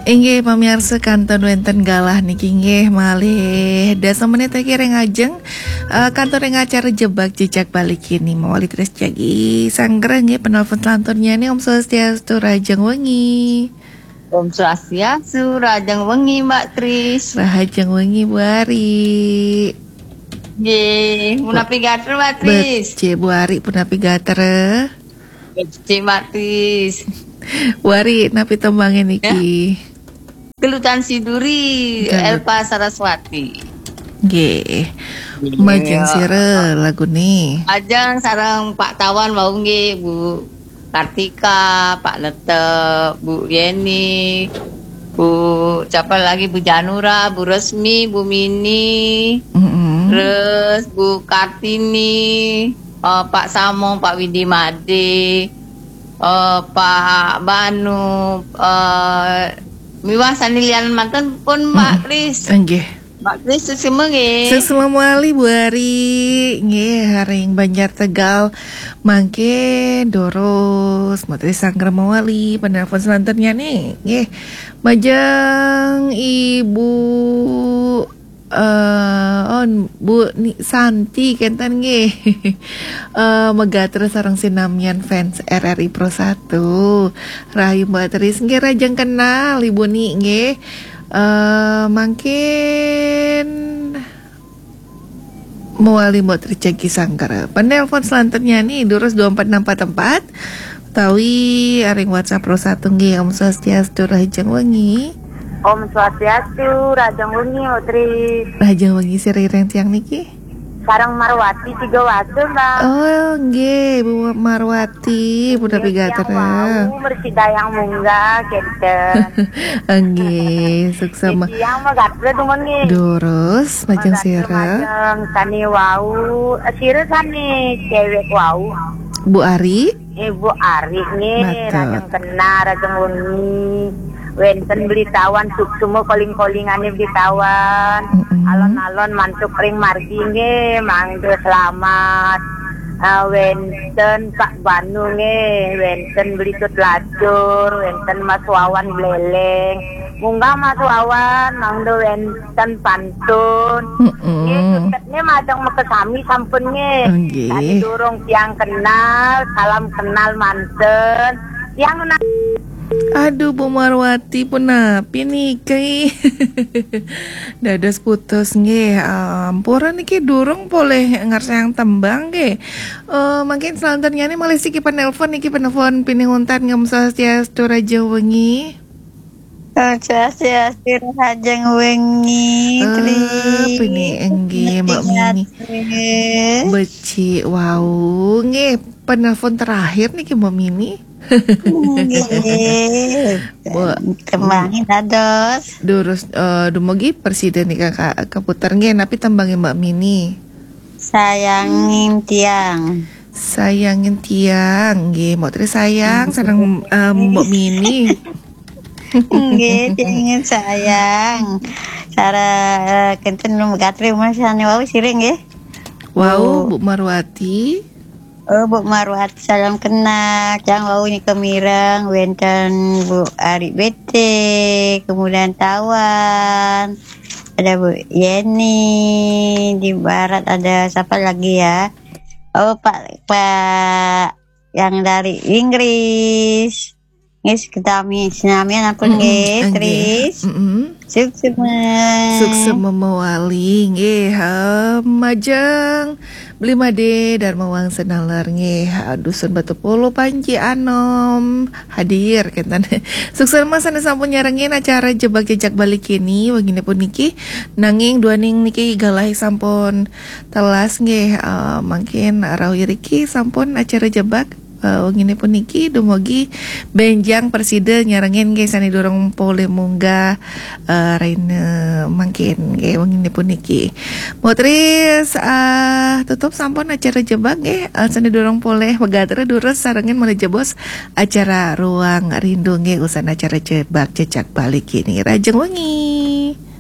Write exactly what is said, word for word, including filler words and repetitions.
Inggih, pamiarsa, kantun wénten galah niki inggih malih dasa menit lagi ring ajeng, eh, kantun ring acara Jebak Jejak Bali kini. Mawali terus jagi sanggra nggih penelpon selanturnyané. Om Swastiastu, rahajeng wengi. Om Swastiastu, rahajeng wengi, Mbak Tris. Rahajeng wengi, Bu Ari. Nggih, punapi gatra, Mbak Tris? Becik, Bu Ari, punapi gatra? Becik, Mbak Tris. Bu Ari, napi tembangé niki? Gelutan Siduri, Gelut- Elpa Saraswati. Nggih. Iya. Majeng sira laguné. Majeng sareng Pak Tawan wau nggih, Bu Kartika, Pak Letep, Bu Yeni, Bu, siapa lagi, Bu Janura, Bu Resmi, Bu Mini, Mm-mm. Terus Bu Kartini, eh, Pak Samong, Pak Widi Made, eh, Pak Banu, eh, miwah sané lianan manten pun, Mbak Mm-mm. Kris. Inggih. Mbak Kris, suksma nggih. Suksma malih, Bu Ari. Nggih, ring Banjar Tegal. Mangkin durus, Mbak Tris sanggra mawali, penelpon selanturnyané. Nggih. Majeng Ibu, eh, oh, Bu Ni Santi kénten nggih. Eh, magatra sareng sinamian fans R R I Pro satu. Rahayu, Mbak Tris, nggih, rahajeng kenal Ibu Ni nggih. Eh, mangkin mawali Mbok Tris jagi sanggra. Penelpon selanturnyané durus dua empat enam empat empat utawi ring WhatsApp Pro satu nggih. Om Swastiastu, rahajeng wengi. Om Swastiastu, rahajeng wengi, Mbok Tris. Rahajeng wengi, sira ring tiang niki? Sareng Marwati Tiga Wasa, Mbak. Oh, nggih, Bu Marwati, punapi gatra? Wau, mriki dayang munggah, kénten. Nggih, suksma. Tiang mah gatra dumun nggih. Durus, majeng sira. Majeng sané wau, eh, sira sané cewek wau. Bu Ari? Ibu Ari nggih, Betul. Rahajeng kenal, rahajeng wengi. Wénten Beli Tawan, suksma koling-kolingané Beli Tawan. Mm-mm. Alon-alon mantuk ring margi nggih, mangda selamat. Eh, wénten Pak Banu nggih, wénten Beli Tut Lacur, wénten Mas Wawan Bléléng. Munggah Mas Wawan, mangda wénten pantun. Mm-mm. Nggih, suksma majeng makasami sampun nggih. Nggih. Sané durung tiang kenal, salam kenal manten. Tiang na- Aduh, Bu Marwati, punapi niki? Dados putus nggih. Ampura niki durung polih ngersayang tembang nggih. Eh, mangkin selanturnyané malih siki penelpon niki, penelpon pinih untat. Om Swastiastu, rahajeng wengi. Om Swastiastu, rahajeng wengi, eh, Tri. Pinih inggih, Mbak Mini. Becik wau nggih, penelpon terakhir niki, Mbak Mini. Nggih. Bu, tembangé dados. Durus, eh, dumugi prasida nika ka-, kaputer nggih, napi tembangé Mbak Mini? Sayangin tiang. Sayangin tiang, nggih, Mbok Tris sayang, sareng, eh, Mbok Mini. Nggih, tiangin sayang. Sareng, eh, kénten gatra, Mas, sané wau sira nggih. Wau, Bu. Bu Marwati. Oh, Bu Marwati, salam kenal. Tiang wau nika mireng, wénten Bu Ari Bete, kemudian Tawan, ada Bu Yeni, di barat ada siapa lagi ya? Oh, Pak, Pak yang dari Inggris. Nggih, sinami, sinamian ampun. Mm-mm, nggih, nggih. Tris. Mm-mm. Suksma. Suksma mawali, nggih. Ha, majeng Beli Made Dharma Wangsa Nalar, nggih. Ha, Dusun Batu Polo, Panji Anom hadir, kénten. Suksma sané sampun nyarengin acara Jebak Jejak Bali kini, wenginé puniki. Nanging duaning niki galah sampun telas, nggih. Eh, mangkin rauh iriki sampun acara Jebak. Eh, wenginé puniki dumugi bénjang prasida nyarengin nggih sané durung polih munggah, eh, rahina mangkin nggih wenginé puniki. Mbok Tris, eh, tutup sampun acara Jebak nggih, eh, sané durung polih magatra durus sarengin malih jebos acara Ruang Rindu nggih, usan acara Jebak Jejak Bali kini. Rahajeng wengi.